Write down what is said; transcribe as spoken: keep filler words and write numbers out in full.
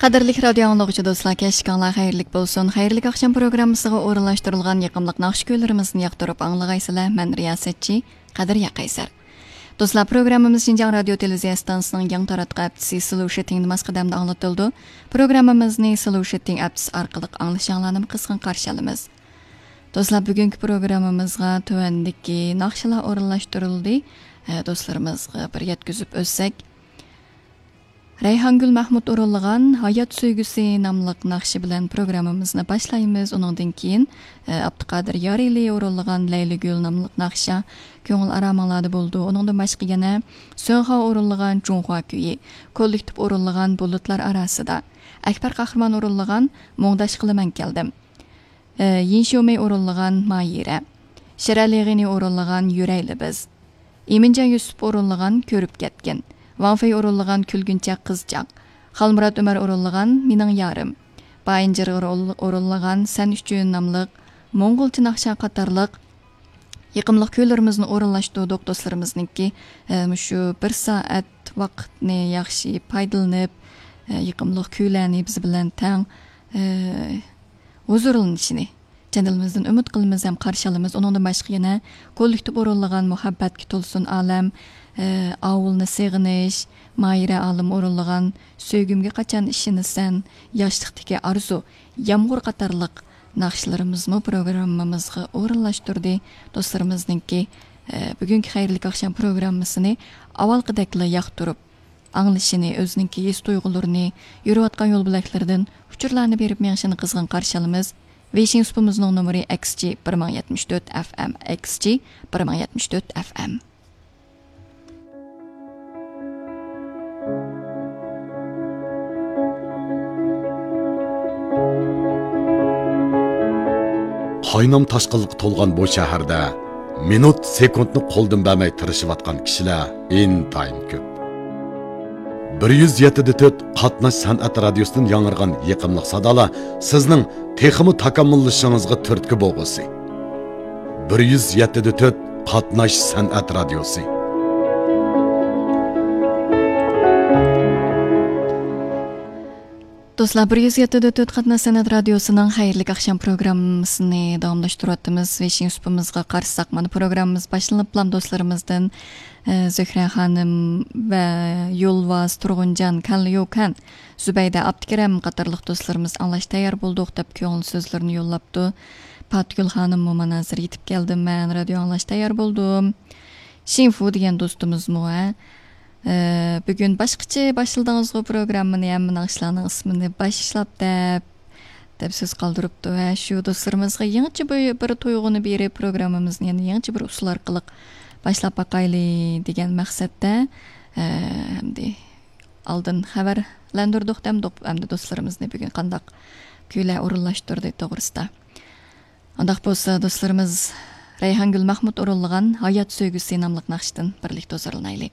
قەدىرلىك رادىيو ئاڭلىغۇچى دوستلار، كەچلىكىڭلار خەيرلىك بولسۇن. خەيرلىك ئاخشام پروگراممىسىغا ئورۇنلاشتۇرۇلغان يېقىملىق ناخشا كۈيلىرىمىزنى ياقتۇرۇپ ئاڭلىغايسىلەر. مەن رىياسەتچى قەدرىيە قەيسەر. دوستلار، پروگراممىمىز شىنجاڭ رادىيو تېلېۋىزىيە ئىستانسىسىنىڭ يېڭى تاراتقۇ ھەپتىسى سلوشىتىڭ نېماس قەدەمدە ئاڭلىتىلىدۇ. پروگراممىمىزنى سلوشىتىڭ ئەپسى ئارقىلىق ئاڭلىشىڭلارنىمۇ قىزغىن قارشى ئالىمىز. دوستلار، بۈگۈنكى پروگراممىمىزغا تۆۋەندىكى ناخشىلار ئورۇنلاشتۇرۇلدى. ئە، دوستلىرىمىزغا بىر يەتكۈزۈپ ئۆتسەك، رەيھانگۈل مەھمۇت ئورۇنلىغان ھايات سۆيگۈسى ناملىق ناخشا بىلەن پروگراممىمىزنى باشلايمىز. ئۇنىڭدىن كېيىن، ئە، ئابدۇقادىر يارىلى ئورۇنلىغان لەيلىگۈل ناملىق ناخشا كۆڭۈل ئارامىڭلاردا بولىدۇ. ئۇنىڭدىن باشقا يەنە سۆڭخاۋ ئورۇنلىغان جۇڭخۇا كۈيى، كوللېكتىپ ئورۇنلىغان بۇلۇتلار ئاراسىدا، ئەكبەر قەھرىمان ئورۇنلىغان مۇڭداش قىلىمەن كەلدىم، ئە، يىن شيۇمەي ئورۇنلىغان ماھىرە، شىرئەلى غېنى ئورۇنلىغان يۈرەيلى بىز، ئىمىنجان يۈسۈپ ئورۇنلىغان كۆرۈپ كەتكىن، ۋاڭ فېي ئورۇنلىغان كۈلگۈنچەك قىزچاق، خالمۇرات ئۆمەر ئورۇنلىغان مېنىڭ يارىم، بايىنجىر ئورۇنلىغان سەن ئۈچۈن ناملىق موڭغۇلچە ناخشا قاتارلىق يېقىملىق كۈيلىرىمىزنى ئورۇنلاشتۇردۇق. دوستلىرىمىزنىڭكى، ئە، مۇشۇ بىر سائەت ۋاقىتنى ياخشى پايدىلىنىپ، ئە، يېقىملىق كۈيلەرنى بىز بىلەن تەڭ، ئە، ھۇزۇرلىنىشىنى چەن دىلىمىزدىن ئۈمىد قىلىمىز ھەم قارشى ئالىمىز. ئۇنىڭدىن باشقا يەنە كوللېكتىپ ئورۇنلىغان مۇھەببەتكە تولسۇن ئالەم، ئە، ئاۋۇلنى سېغىنىش، ماھىرە ئالىم ئورۇنلىغان سۆيگۈمگە قاچان ئىشىنىسەن، ياشلىقتىكى ئارزۇ، يامغۇر قاتارلىق ناخشىلىرىمىزمۇ پروگراممىمىزغا ئورۇنلاشتۇردى. دوستلىرىمىزنىڭكى، ئە، بۈگۈنكى خەيرلىك ئاخشام پروگراممىسىنى ئاۋۋالقىدەكلا ياقتۇرۇپ ئاڭلىشىنى، ئۆزىنىڭكى ھېس تۇيغۇلىرىنى، يۈرۈۋاتقان يول بۆلەكلىرىدىن ئۇچۇرلارنى بېرىپ مېڭىشىنى قىزغىن قارشى ئالىمىز. ۋېيشىڭ سۇپىمىزنىڭ نومۇرى ئەكس جى بىر مىڭ يەتمىش تۆت ئەف ئەم، ئەكس جى بىر مىڭ يەتمىش تۆت ئەف ئەم. قاينام تاشقىنلىققا تولغان بۇ شەھەردە مىنۇت، سېكۇنتنى قولدىن بەرمەي تىرىشىۋاتقان كىشىلەر ئىنتايىن كۆپ. بىر يۈز يەتتە دە تۆت قاتناش سەنئەت رادىيوسىدىن ياڭرىغان يېقىملىق سادالار سىزنىڭ تېخىمۇ تاكامۇللىشىشىڭىزغا تۈرتكە بولغۇسى. بىر يۈز يەتتە دە تۆت قاتناش سەنئەت رادىيوسى. دوستلار، بىر يۈز يەتتە دە تۆت قاتناش سەنئەت رادىيوسىنىڭ خەيرلىك ئاخشام پروگراممىسىنى داۋاملاشتۇرۇۋاتىمىز. ۋېيشىڭ سۇپىمىزغا قارىساق، مانا پروگراممىمىز باشلىنىپلا دوستلىرىمىزدىن، ئە، زۆھرە خانىم ۋە يولۋاس، تۇرغۇنجان، كانليۇكەن، زۇبەيدە، ئابدۇكېرەم قاتارلىق دوستلىرىمىز ئاڭلاش تەييار بولدۇق دەپ كۆڭۈل سۆزلىرىنى يوللاپتۇ. پاتىگۈل خانىممۇ مانا ھازىر يېتىپ كەلدىم مەن، رادىيو ئاڭلاش تەييار بولدۇم. شىنفۇ دېگەن دوستىمىزمۇ، ھە، ئە، بۈگۈن باشقىچە باشلىدىڭىزغۇ پروگراممىنى، ھەممە ناخشىلارنىڭ ئىسمىنى باشلاپ دەپ، دەپ سۆز قالدۇرۇپتۇ. ھە، شۇ دوستلىرىمىزغا يېڭىچە بىر، بىر تۇيغۇنى بېرىپ، پروگراممىمىزنى يەنە يېڭىچە بىر ئۇسۇل ئارقىلىق باشلاپ باقايلى دېگەن مەقسەتتە، ئە، ئەمدى ئالدىن خەۋەرلەندۈردۇق دەمدۇق، ئەمدى دوستلىرىمىزنى بۈگۈن قانداق كۈيلەر ئورۇنلاشتۇردى توغرىسىدا. ئۇنداق بولسا، دوستلىرىمىز، رەيھانگۈل مەخمۇت ئورۇنلىغان ھايات سۆيگۈسى ناملىق ناخشىدىن بىرلىكتە ھۇزۇرلىنايلى.